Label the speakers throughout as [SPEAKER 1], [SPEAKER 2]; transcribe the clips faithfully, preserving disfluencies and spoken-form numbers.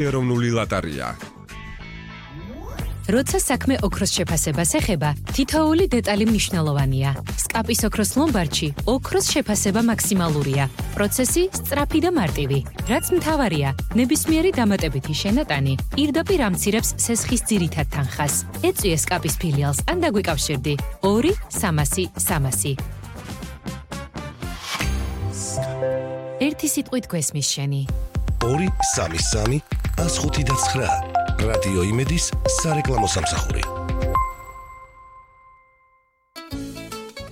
[SPEAKER 1] ეროვნული ლატარია.
[SPEAKER 2] როცა საქმე ოქროს შეფასებას ეხება, თითოეული დეტალი მნიშვნელოვანია. სკაპის ოქროს ლომბარდში ოქროს შეფასება მაქსიმალურია. პროცესი სწრაფი და მარტივი. რაც მთავარია, ნებისმიერი დამატებითი შენატანი პირდაპირ ამცირებს სესხის ძირითად თანხას. ეწვიე სკაპის ფილიალს ან დაგვიკავშირდი ორი სამასი სამასი. ერთი სიტყვით გვესმის შენი.
[SPEAKER 3] ორი სამი სამი ას ხუთი და ცხრა. რადიო იმედის სარეკლამო სამსახური.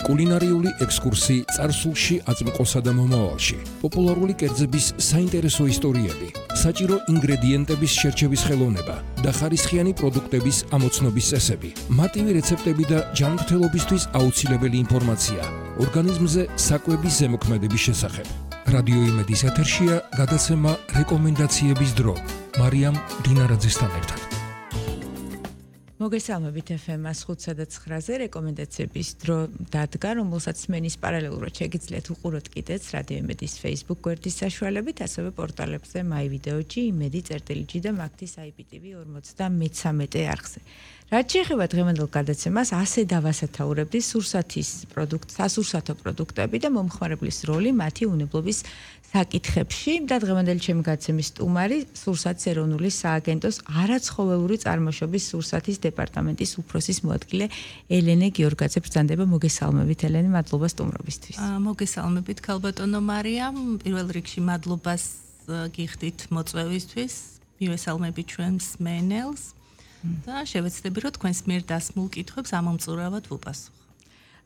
[SPEAKER 4] კულინარიული ექსკურსი წარსულში, აწმყოსა და მომავალში. პოპულარული კერძების საინტერესო ისტორიები, საჭირო ინგრედიენტების შერჩევის ხელოვნება და ხარისხიანი პროდუქტების ამოცნობის წესები, მარტივი რეცეპტები და ჯანმრთელობისთვის აუცილებელი ინფორმაცია ორგანიზმზე საკვების ზემოქმედების შესახებ. რადიო იმედის ეთერშია გადაცემა რეკომენდაციების დრო. მარიამ დინარაძესთან ერთად.
[SPEAKER 5] მოგესალმებით ეფ ემ ას ხუთსა და ცხრაზე რეკომენდაციების დრო დადგა, რომელსაც მენის პარალელურად შეგიძლიათ უყუროთ კიდეც რადიო იმედის Facebook გვერდის საშუალებით, ასევე პორტალებზე MyVideo-ში, იმედი.წერტილი და მაგთის აი პი ტი ვი ორმოცდამეცამეტე არხზე. რაც შეეხება დღევანდელ გადაცემას, ასე დავასათაურებდი სურსათის პროდუქტ, სასურსათო პროდუქტები და მომხმარებლის როლი მათი უნებლობის საკითხებში და დღევანდელი ჩემი გადაცემის სტუმარი სურსათის ეროვნული სააგენტოს არაცხოველური წარმოშობის სურსათის დეპარტამენტის უფროსის მოადგილე ელენე გიორგაძე ბრძანდება. მოგესალმებით ელენე, მადლობა სტუმრობისთვის.
[SPEAKER 6] მოგესალმებით ქალბატონო მარიამ, პირველ რიგში მადლობას გიხდით მოწვევისთვის, მივესალმებით ჩვენს მენელს და შევეცდები რომ თქვენს მიერ დასმულ კითხვებს ამომწურავად ვუპასუხო.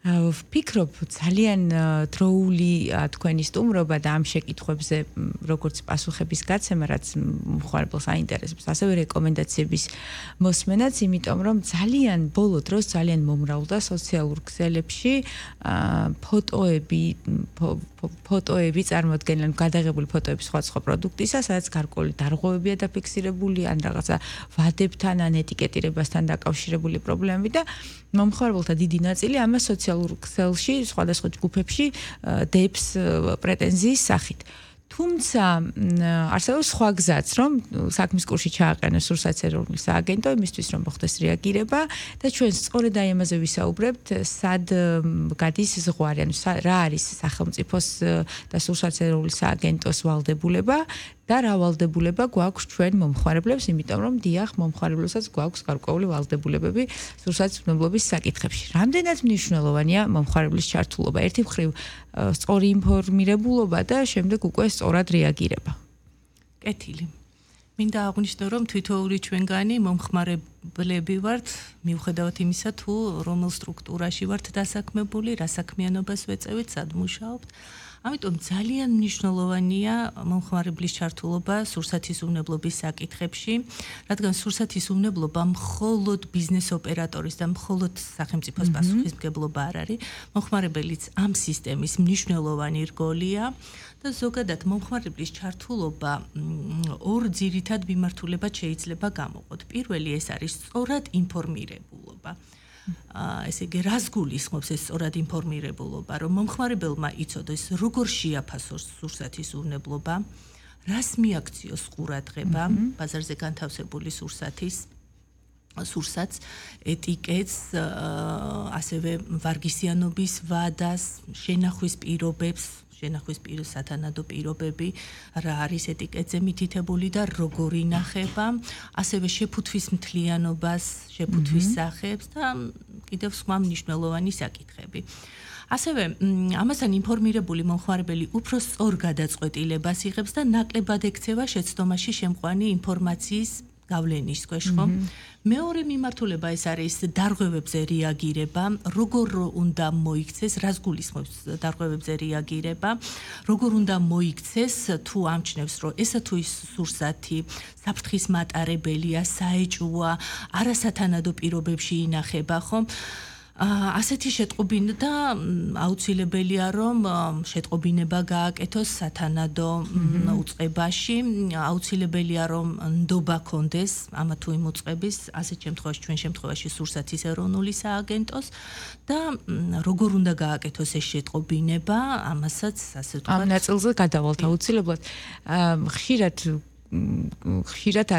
[SPEAKER 5] ვფიქრობ ძალიან დროული თქვენი სტუმრობა და ამ შეკითხვებზე როგორც პასუხების გაცემა, რაც მხარებელს აინტერესებს, ასევე რეკომენდაციების მოსმენაც, იმიტომ რომ ძალიან ბოლო დროს ძალიან მომრავლდა სოციალურ ქსელებში ფოტოები, ფოტოები წარმოადგენენ გადაღებული ფოტოები სხვა სხვა პროდუქტისა, სადაც გარკვეული დარღვევებია დაფიქსირებული, ან რაღაცა ვადებთან, ან ეტიკეტირებასთან დაკავშირებული პრობლემები და მომხმარებელთა დიდი ნაწილი ამას სოციალურ ქსელში, სხვადასხვა ჯგუფებში დებს პრეტენზიის სახით. თუმცა არსებობს სხვა გზაც, რომ საქმის კურსში ჩააყენოს სურსათის ეროვნული სააგენტო იმისთვის, რომ მოხდეს რეაგირება და ჩვენ სწორედ აი ამაზე ვისაუბრებთ, სად გადის ზღვარი, ანუ რა არის სახელმწიფოს და სურსათის ეროვნული სააგენტოს ვალდებულება და რა ვალდებულება გვაქვს ჩვენ მომხმარებლებს, იმიტომ რომ დიახ, მომხმარებლებსაც გვაქვს გარკვეული ვალდებულებები სურსათის უნებლობის საკითხებში. რამდენად მნიშვნელოვანია მომხმარებლის ჩართულობა? ერთი მხრივ სწორი ინფორმირებულობა და შემდეგ უკვე სწორად რეაგირება.
[SPEAKER 6] კეთილი. მინდა აღვნიშნო, რომ თითოეული ჩვენგანი მომხმარებლები ვართ, მიუხედავად იმისა, თუ რომელ სტრუქტურაში ვართ დასაქმებული, რა საქმიანობას ვეწევით, სად მუშაობთ. ამიტომ ძალიან მნიშვნელოვანია მომხმარებლის ჩართულობა სურსათის უნებლობის საკითხებში, რადგან სურსათის უნებლობა მხოლოდ ბიზნეს ოპერატორის და მხოლოდ სახელმწიფოს პასუხისმგებლობა არ არის, მომხმარებელიც ამ სისტემის მნიშვნელოვანი რგოლია და ზოგადად მომხმარებლის ჩართულობა ორ ძირითად მიმართულებად შეიძლება გამოყოთ. პირველი ეს არის სწორად ინფორმირებულობა. ესე იგი, რას გულისხმობს ეს სწორად ინფორმირებულობა, რომ მომხმარებელმა იცოდეს, როგორ შეაფასოს სურსათის უნებლობა, რას მიაქციოს ყურადღება ბაზარზე განთავსებული სურსათის სურსათს, ეტიკეტს, ასევე ვარგისიანობის ვადას, შენახვის პირობებს, შენახვის სათანადო პირობები, რა არის ეტიკეტზე მითითებული და როგორ ინახება, ასევე შეფუთვის მთლიანობას, შეფუთვის სახებს და კიდევ სხვა მნიშვნელოვანი საკითხები. ასევე ამასთან ინფორმირებული მომხმარებელი უფრო სწორ გადაწყვეტილებას იღებს და ნაკლებად ექცევა შეცდომაში შემყვანი ინფორმაციის გავლენის ქვეშ, ხო? მეორე მიმართულება ეს არის დარღვევებზე რეაგირება, როგორ უნდა მოიქცეს, რას გულისხმობს დარღვევებზე რეაგირება, როგორ უნდა მოიქცეს თუ ამჩნევს, რომ ესა თუ ის სურსათი საფრთხის მატარებელია, საეჭვოა, არასათანადო პირობებში ინახება, ხო? ასეთი შეტყობინა და აუცილებელია რომ შეტყობინება გააკეთოს სათანადო უწყებაში, აუცილებელია რომ ნდობა კონდეს ამა თუ იმ უწყების, ასეთ შემთხვევაში ჩვენ შემთხვევაში სურსათის ეროვნული სააგენტოს და როგორ უნდა გააკეთოს ეს შეტყობინება, ამასაც ასე ვთქვათ.
[SPEAKER 5] ამ ნაწილზე გადავალთ აუცილებლად. ხშირად ხშირად